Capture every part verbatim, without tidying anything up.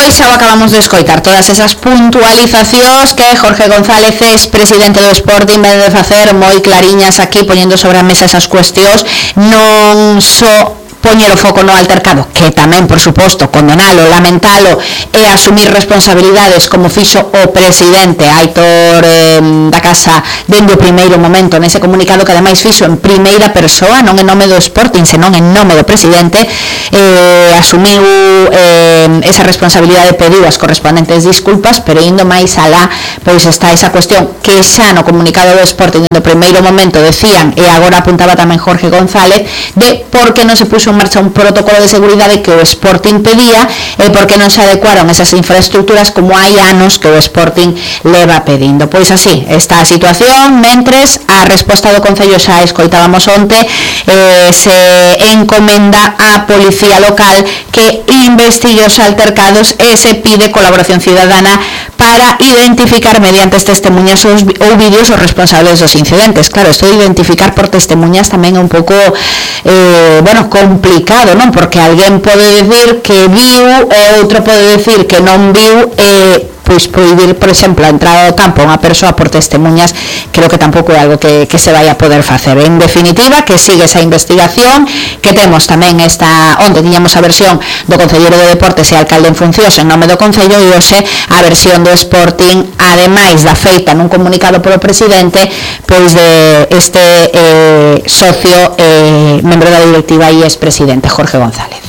Pois xa o acabamos de escoitar todas esas puntualizacións que Jorge González, ex presidente do Sporting, vende de facer moi clariñas aquí, poñendo sobre a mesa esas cuestións, non só poñer o foco no altercado, que tamén, por suposto, condenalo, lamentalo e asumir responsabilidades como fixo o presidente Aitor eh, da Casa dende o primeiro momento nese comunicado, que ademais fixo en primeira persoa, non en nome do Sporting, senón en nome do presidente. eh, asumiu eh, esa responsabilidade, pediu as correspondentes disculpas, pero indo máis alá, pois está esa cuestión que xa no comunicado do Sporting no primeiro momento decían, e agora apuntaba tamén Jorge González, de por que non se puxo en marcha un protocolo de seguridade que o Sporting pedía e por que non se adecuaron esas infraestructuras como hai anos que o Sporting leva pedindo. Pois así está a situación, mentres a resposta do Concello xa escoitábamos onte, eh, se encomenda á Policía Local que investigue os altercados e se pide colaboración cidadana para identificar mediante testemunhas ou vídeos os responsables dos incidentes. Claro, isto de identificar por testemunhas tamén é un pouco eh, bueno, complicado, non? Porque alguén pode decir que viu e outro pode decir que non viu, e eh, pois prohibir, por exemplo, a entrada ao campo a unha persoa por testemunhas, creo que tampouco é algo que, que se vai a poder facer. En definitiva, que sigue esa investigación, que temos tamén esta, onde tiñamos a versión do Concelleiro de Deportes e alcalde en funcións en nome do Concello, e hoxe a versión do Sporting, ademais da feita nun comunicado polo presidente, pois de este eh, socio, eh, membro da directiva e expresidente, Jorge González.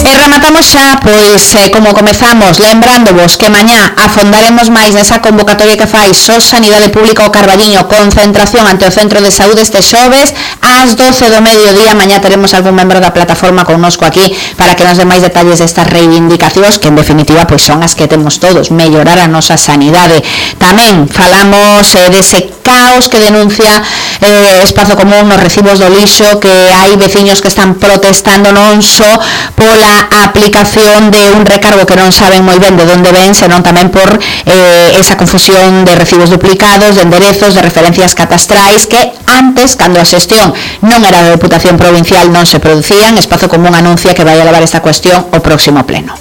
E rematamos xa, pois, eh, como comezamos, lembrándovos que mañá afondaremos máis nesa convocatoria que fai S O S Sanidade Pública o Carballiño, concentración ante o Centro de Saúde este xoves ás doce do mediodía. Mañá teremos algún membro da plataforma connosco aquí para que nos dé máis detalles destas reivindicacións, que en definitiva pois son as que temos todos, mellorar a nosa sanidade. Tamén falamos eh, dese caos que denuncia eh, Espazo Común nos recibos do lixo, que hai veciños que están protestando non só pola aplicación de un recargo que non saben moi ben de onde ven, senón tamén por eh, esa confusión de recibos duplicados, de enderezos, de referencias catastrais que antes, cando a xestión non era da Deputación Provincial, non se producían. Espazo Común anuncia que vai a levar esta cuestión ao próximo pleno.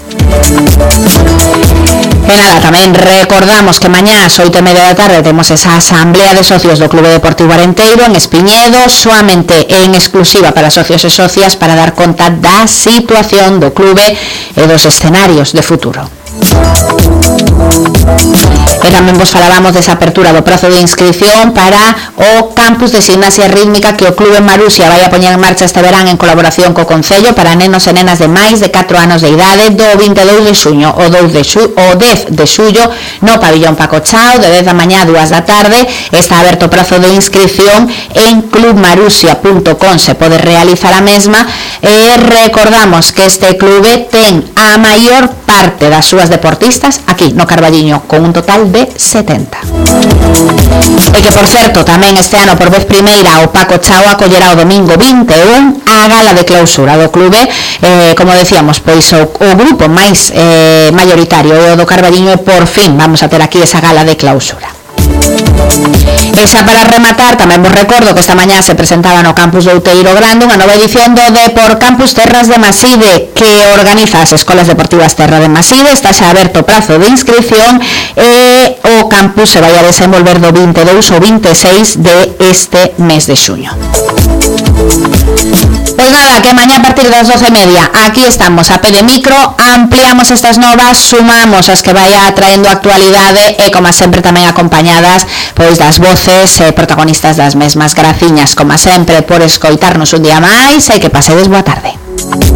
E nada, tamén recordamos que mañá ás oito e media da tarde temos esa asamblea de socios do Clube Deportivo Arenteiro en Espiñedo, soamente en exclusiva para socios e socias, para dar conta da situación do clube e dos escenarios de futuro. E tamén vos falábamos desa apertura do prazo de inscripción para o campus de gimnasia rítmica que o Clube Marusia vai a poñer en marcha este verán en colaboración co Concello para nenos e nenas de máis de catro anos de idade do vinte e dous de xuño o dez de xullo no pabillón Paco Chao, de dez da mañá a dúas da tarde. Está aberto o prazo de inscripción en club marusia punto com, se pode realizar a mesma. E recordamos que este clube ten a maior parte das súas deportistas aquí no Carballiño, con un total de setenta. E que, por certo, tamén este ano por vez primeira o Paco Chao acollerá o domingo vinte e un a gala de clausura do clube. Eh, como decíamos, pois o, o grupo máis eh, mayoritario é o do Carballiño, e por fin vamos a ter aquí esa gala de clausura. E xa para rematar, tamén vos recordo que esta mañá se presentaba no campus do Outeiro Grande unha nova edición do Depor Campus Terras de Maside, que organiza as Escolas Deportivas Terra de Maside. Está xa aberto o prazo de inscripción e o campus se vai a desenvolver do vinte e dous ao vinte e seis de este mes de xuño. Pois nada, que mañá a partir das doce e media aquí estamos a pé de micro, ampliamos estas novas, sumamos as que vai atraendo actualidade e, como sempre, tamén acompañadas pois das voces e protagonistas das mesmas. Graciñas, como sempre, por escoitarnos un día máis e que pasedes boa tarde.